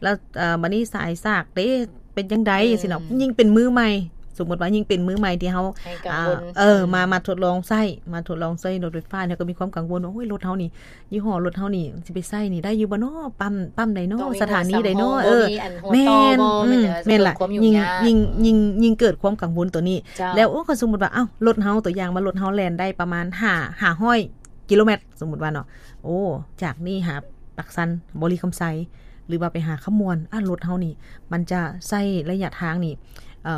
ແລ້ວ ເອີ ບັດນີ້ສາຍສາກເດ້ ເປັນຈັ່ງໃດ ອືມ ຈັ່ງຊີ້ເນາະ. ຍິ່ງເປັນມືໃໝ່ ສົມມຸດວ່າຍິ່ງເປັນມືໃໝ່ທີ່ເຮົາ ໃຫ້ກັງວົນ ເອີ ອືມ ມາ ມາທົດລອງໃຊ້ ມາທົດລອງໃຊ້ລົດໄຟຟ້າ ແລ້ວກໍມີຄວາມກັງວົນວ່າ ໂອ້ຍ ລົດເຮົານີ້ ຍີ່ຫໍ້ລົດເຮົານີ້ຊິໄປໃຊ້ນີ້ໄດ້ຢູ່ບໍ່ເນາະ ປ້ຳ ປ້ຳໃດເນາະ ຕ້ອງມີ ສະຖານີໃດເນາະ ຫົວສຳຮອງ ເອີ ບໍ່ມີອັນຫົວ ແມ່ນ ຕໍ່ບໍ່ ອືມ ແມ່ນແລ້ວ ຄວາມຫຍຸ້ງຍາກ ຍິ່ງ ອືມ ຍິ່ງ ຍິ່ງ ຍິ່ງເກີດຄວາມກັງວົນຕົວນີ້ ເຈົ້າ ແລ້ວ ໂອ້ ຄັນສົມມຸດວ່າ ເອົ້າ ລົດເຮົາ ຕົວຢ່າງວ່າລົດເຮົາແລ່ນໄດ້ປະມານຫ້າ ຫ້າຮ້ອຍກິໂລແມັດ ສົມມຸດວ່າເນາະ ໂອ້ ຈາກນີ້ຫາປາກຊັນ ບໍລິຄຳໄຊ ຫຼືວ່າໄປຫາຄຳມ່ວນ ອາ ລົດເຮົານີ້ ມັນຈະໃຊ້ໄລຍະທາງນີ້ ເອີ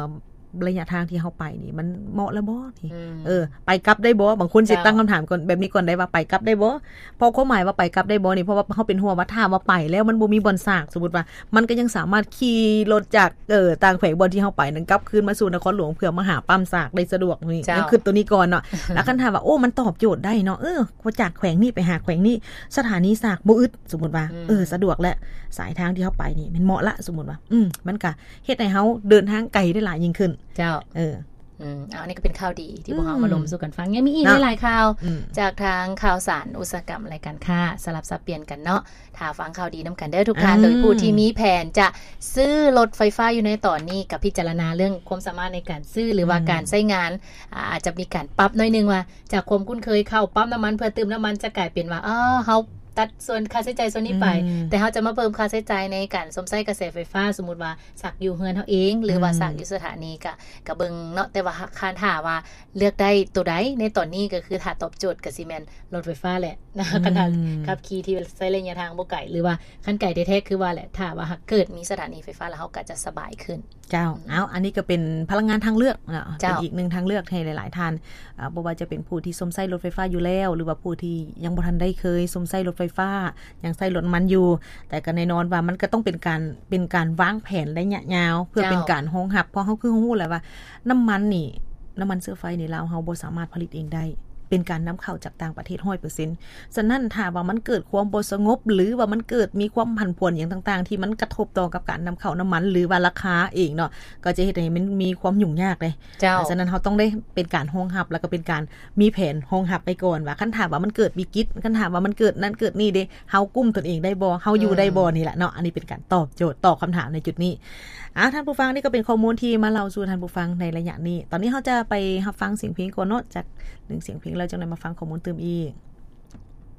ໄລຍະທາງທີ່ເຮົາໄປນີ້ ມັນເໝາະແລ້ວບໍ່ນີ້ ອືມ ເອີ ໄປກັບໄດ້ບໍ່? ບາງຄົນຊິ ເຈົ້າ ຕັ້ງຄຳຖາມກ່ອນ ແບບນີ້ກ່ອນໄດ້ວ່າ ໄປກັບໄດ້ບໍ່? ເພາະຄວາມໝາຍວ່າໄປກັບໄດ້ບໍ່ນີ້ ເພາະວ່າເຮົາເປັນຫ່ວງວ່າ ຖ້າວ່າໄປແລ້ວມັນບໍ່ມີບ່ອນສາກ ສົມມຸດວ່າ ມັນກໍຍັງສາມາດຂີ່ລົດຈາກ ເອີ ຕ່າງແຂວງບ່ອນທີ່ເຮົາໄປນັ້ນ ກັບຄືນມາສູ່ນະຄອນຫຼວງ ເພື່ອມາຫາປ້ຳສາກໄດ້ສະດວກນີ້ ເຈົ້າ ຍັງຄິດຕົວນີ້ກ່ອນເນາະ ແລ້ວຄັນຖາມວ່າ ໂອ້ ມັນຕອບໂຈດໄດ້ເນາະ ເອີ ຈາກແຂວງນີ້ໄປຫາແຂວງນີ້ ສະຖານີສາກບໍ່ອຶດ ສົມມຸດວ່າ ອືມ ເອີ ສະດວກແຫຼະ ສາຍທາງທີ່ເຮົາໄປນີ້ແມ່ນເໝາະລະ ສົມມຸດວ່າ ອືມ ມັນກະເຮັດໃຫ້ເຮົາເດີນທາງໄກໄດ້ຫຼາຍຍິ່ງຂຶ້ນ ເຈົ້າ ເອີ ອືມ ເອົາ ອັນນີ້ກໍເປັນຂ່າວດີທີ່ພວກເຮົາ ອືມ ມາລົມສູ່ກັນຟັງ ຍັງມີອີກ ເນາະ ຫຼາຍໆຂ່າວ ອືມ ຈາກທາງຂ່າວສານອຸດສາຫະກຳ ແລະ ການຄ້າ ສະຫຼັບສັບປ່ຽນກັນເນາະ. ຖ້າຟັງຂ່າວດີນຳກັນເດີທຸກທ່ານ ອືມ ໂດຍຜູ້ທີ່ມີແຜນຈະຊື້ລົດໄຟຟ້າຢູ່ໃນຕອນນີ້ ກໍພິຈາລະນາເລື່ອງຄວາມສາມາດໃນການຊື້ ຫຼືວ່າ ອືມ ການໃຊ້ງານ ອາ ອາດຈະມີການປັບໜ້ອຍໜຶ່ງວ່າ ຈາກຄວາມຄຸ້ນເຄີຍເຂົ້າປ້ຳນ້ຳມັນເພື່ອຕື່ມນ້ຳມັນ ຈະກາຍເປັນວ່າ ເອີ ເຮົາຕັດສ່ວນຄ່າໃຊ້ຈ່າຍສ່ວນນີ້ໄປ ອືມ ແຕ່ເຮົາຈະມາເພີ່ມຄ່າໃຊ້ຈ່າຍໃນການຊົມໃຊ້ກະແສໄຟຟ້າ ສົມມຸດວ່າ ສາກຢູ່ເຮືອນເຮົາເອງ ຫຼືວ່າ ອືມ ສາກຢູ່ສະຖານີ ກະ ກະເບິ່ງເນາະ ແຕ່ວ່າຄັນຖ້າວ່າເລືອກໄດ້ໂຕໃດໃນຕອນນີ້ ກໍຄືຖ້າຕອບໂຈດກໍຊິແມ່ນລົດໄຟຟ້າແຫຼະ ອືມ ຄັນຖ້າຂັບຂີ່ທີ່ໃຊ້ໄລຍະທາງບໍ່ໄກ ຫຼືວ່າຄັນໄກແທ້ໆ ຄືວ່າແຫຼະ ຖ້າວ່າຫາກເກີດມີສະຖານີໄຟຟ້າແລ້ວ ເຮົາກໍຈະສະບາຍຂຶ້ນ. ເຈົ້າ ອືມ ເອົາ ອັນນີ້ກໍເປັນພະລັງງານທາງເລືອກເນາະ ເຈົ້າ ເປັນອີກໜຶ່ງທາງເລືອກໃຫ້ຫຼາຍໆທ່ານ ເອີ ບໍ່ວ່າຈະເປັນຜູ້ທີ່ຊົມໃຊ້ລົດໄຟຟ້າຢູ່ແລ້ວ ຫຼືວ່າຜູ້ທີ່ຍັງບໍ່ທັນໄດ້ເຄີຍຊົມໃຊ້ລົດໄຟຟ້າ ຍັງໃຊ້ລົດນ້ຳມັນຢູ່ ແຕ່ກໍແນ່ນອນວ່າມັນກໍຕ້ອງເປັນການ ເປັນການວາງແຜນໄລຍະຍາວ ເພື່ອ ເຈົ້າ ເປັນການຮອງຮັບ ເພາະເຮົາຄືຮູ້ແຫຼະວ່ານ້ຳມັນນີ້ ນ້ຳມັນເຊື້ອໄຟໃນລາວເຮົາບໍ່ສາມາດຜະລິດເອງໄດ້ ເປັນການນຳເຂົ້າຈາກຕ່າງປະເທດຮ້ອຍເປີເຊັນ. ສະນັ້ນ ຖ້າວ່າມັນເກີດຄວາມບໍ່ສະຫງົບ ຫຼືວ່າມັນເກີດມີຄວາມຜັນຜວນຫຍັງຕ່າງໆ ທີ່ມັນກະທົບຕໍ່ກັບການນຳເຂົ້ານ້ຳມັນ ຫຼືວ່າລາຄາເອງເນາະ ກໍຈະເຮັດໃຫ້ມັນມີຄວາມຫຍຸ້ງຍາກເດ້ ເຈົ້າ ສະນັ້ນ ເຮົາຕ້ອງໄດ້ເປັນການຮອງຮັບ ແລ້ວກໍເປັນການມີແຜນຮອງຮັບໄວ້ກ່ອນວ່າ ຄັນຖ້າວ່າມັນເກີດວິກິດ ຄັນຖ້າວ່າມັນເກີດນັ້ນເກີດນີ້ເດ້ ເຮົາກຸ້ມຕົນເອງໄດ້ບໍ່ ເຮົາຢູ່ໄດ້ບໍ່ ອືມ ນີ້ແຫຼະເນາະ ອັນນີ້ເປັນການຕອບໂຈດ ຕອບຄຳຖາມໃນຈຸດນີ້. ອ່າ ທ່ານຜູ້ຟັງ ນີ້ກໍເປັນຂໍ້ມູນທີ່ມາເລົ່າສູ່ທ່ານຜູ້ຟັງໃນໄລຍະນີ້. ຕອນນີ້ເຮົາຈະໄປຮັບຟັງສຽງເພງກ່ອນເນາະ ຈັກໜຶ່ງສຽງເພງ ແລ້ວຈັ່ງໄດ້ມາຟັງຂໍ້ມູນຕື່ມອີກ.